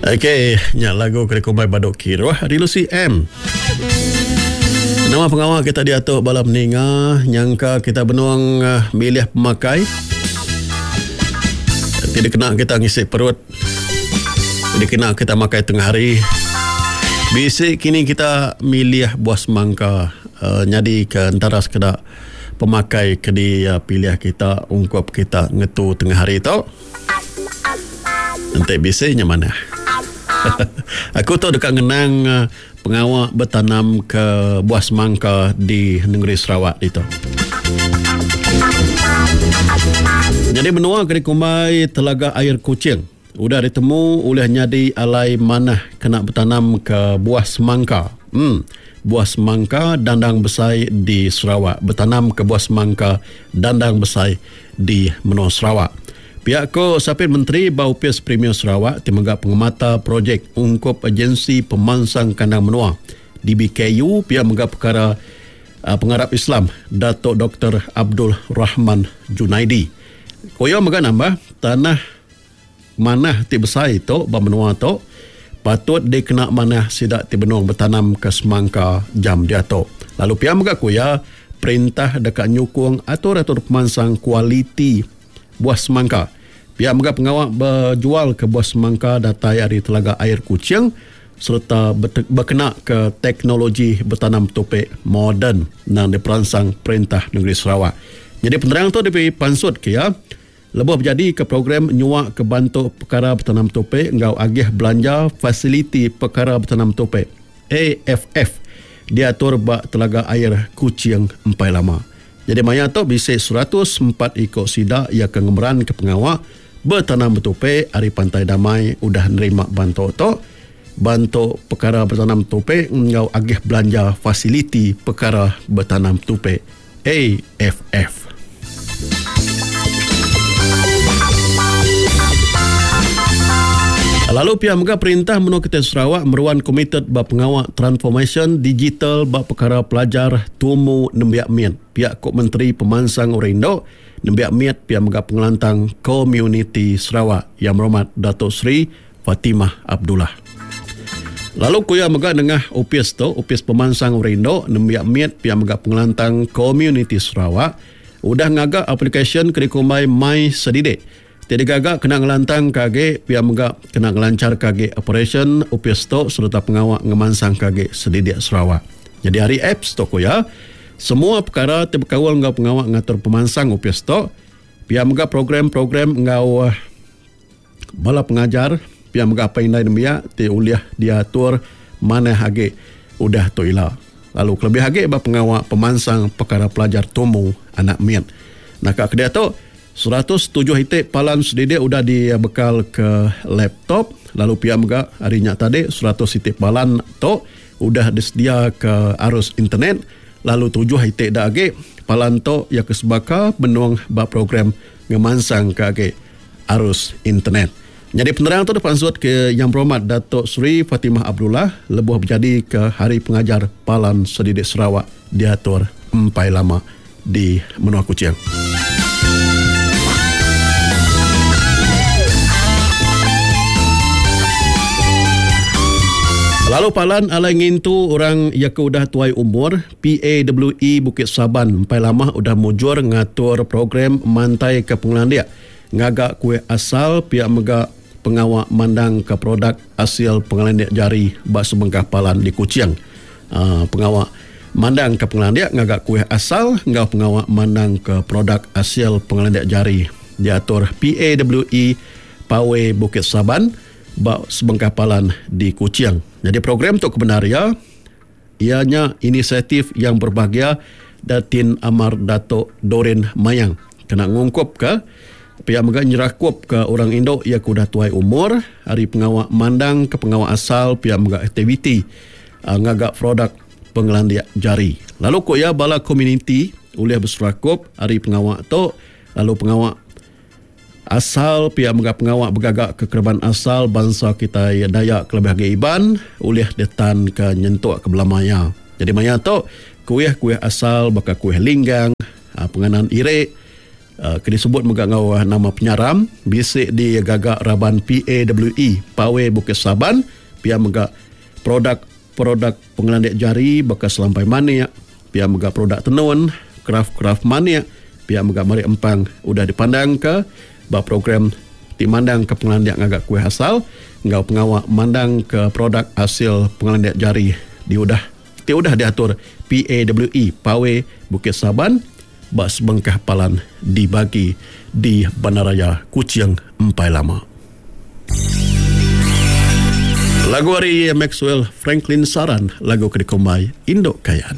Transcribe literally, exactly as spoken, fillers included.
Okey, nya lagu ke dikumbai Badu Kiruh ari Lucy M. Nama pengawa kita diatu bala meninga nyangka kita benung eh, milih pemakai ti dikena kita ngisi perut dikena kita makai tengah hari. Bisi kini kita milih buah semangka uh, nyadi ke entara sekeda pemakai ke dipilih kita ungkup kita ngetu tengah hari tu. Enti bisi nya manah. Aku tu deka ngenang eh, pengawa betanam ke buah semangka di negeri Sarawak ditu. Jadi menua ke dikumbai Telaga Air Kuching udah ditemu oleh nyadi alai manah kena betanam ke buah semangka. Hmm, buah semangka dandang besai di Sarawak. Betanam ke buah semangka dandang besai di menua Sarawak. Pihak ko Sapit Menteri ba Opis Premier Sarawak ti mega pengemata projek ungkup Agensi Pemansang Kandang Menua D B K U pihak mega perkara uh, pengarap Islam Datuk Doktor Abdul Rahman Junaidi. Koyo mega nambah tanah manah ti besai tu ba menua tu patut dikena manah sida ti benung betanam ke semangka jam diatu. Lalu pihak mega kuya perintah dekat nyukung atur-atur pemansang kualiti buah semangka. Pihak mega pengawak berjual ke buah semangka datai ari Telaga Air Kuching serta berkena ke teknologi bertanam topik moden nang diperansang perintah negeri Sarawak. Jadi penerang tu diberi pansut ke ya. Lebuh berjadi ke program nyuak ke bantu perkara bertanam topik ngau agih belanja fasiliti perkara bertanam topik A F F diatur ba Telaga Air Kuching empai lama. Jadi maya tu bisa seratus empat ikut sida ia ke ngemeran ke pengawak bertanam bertopik ari Pantai Damai udah nerima bantu tu bantu perkara bertanam topik ngau agih belanja fasiliti perkara bertanam topik A F F. Lalu pihak mega perintah menua kita Sarawak meruan komited ba pengawak transformation digital ba perkara pelajar tumu nembiak miat. Pihak Kok Menteri Pemansang Orang Indo nembiak miat pihak mega pengelantang komuniti Sarawak yang berhormat Datuk Seri Fatimah Abdullah. Lalu kuya mega nengah Opis tu, Opis Pemansang Orang Indo nembiak miat pihak mega pengelantang komuniti Sarawak udah ngagak aplikasi ke dikumbai My Sedidik. Tiada gagak kena ngelantang kage pihak mega kena ngelancar kage operation Opis tu serta pengawak ngemansang kage Sedidik Sarawak. Jadi hari apps tu kuya semua perkara ti berkaul ngau pengawak ngatur pemansang Opis tu pihak mega program-program ngau bala pengajar pihak mega apa indai nembiak ti uliah diatur manah age udah tu ila. Lalu kelebih age ba pengawak pemansang perkara pelajar tumu anak miat. Nak ke dia tu seratus tujuh itik palan sedidik udah dibekal ke laptop. Lalu pihak mega hari nyak tadi seratus itik palan tu udah disedia ke arus internet. Lalu tujuh itik dak age palan tu ya kesebaka benung ba program ngemansang ke age arus internet. Jadi penerang tu dipansut ke Yang Berhormat Datuk Seri Fatimah Abdullah lebuh berjadi ke Hari Pengajar Palan Sedidik Sarawak diatur empai lama di Menua Kuching. Lalu palan alai ngintu orang yang ke udah tuai umur P A W E Bukit Saban empai lama udah mujur ngatur program mantai ke pengelandik ngagak kuih asal pihak mega pengawak mandang ke produk hasil pengelandik jari bak sebengkah palan di Kuching. Uh, pengawak mandang ke pengelandik ngagak kuih asal ngau pengawak mandang ke produk hasil pengelandik jari diatur P A W E Pawe Bukit Saban bak sebengkah palan di Kuching. Jadi program tu kebenaria ianya inisiatif yang berbahagia Datin Amar Datuk Dorin Mayang kena ngungkup ke pihak mega nyerakup ke orang Indo ia kudah tuai umur hari pengawak mandang ke pengawak asal pihak mega aktiviti uh, ngagak produk pengelandiak jari. Lalu kok ya bala komuniti oleh berserakup hari pengawak tu lalu pengawak asal pihak mega pengawak bergagak ke kerban asal bangsa kita ya Dayak kelebih agi Iban oleh detan ke nyentuk ke belamaya. Jadi maya tu kuih-kuih asal baka kuih linggang, penganan irek, Ke disebut mega enggau nama penyaram bisi digaga raban P A W E Pawe Bukit Saban, pia mega produk-produk pengelandik jari baka selampai manik, pia mega produk tenun, kraf-kraf manik, pia mega marik empang udah dipandangka ba program ti mandangka pengelandik ngaga kuih asal enggau pengawa mandangka produk hasil pengelandik jari di udah ti udah diatur P A W E Pawe Bukit Saban ba sebengkah palan dibagi di Bandaraya Kuching empai lama. Lagu ari Maxwell Franklin Saran, lagu ke dikumbai Induk Kayan.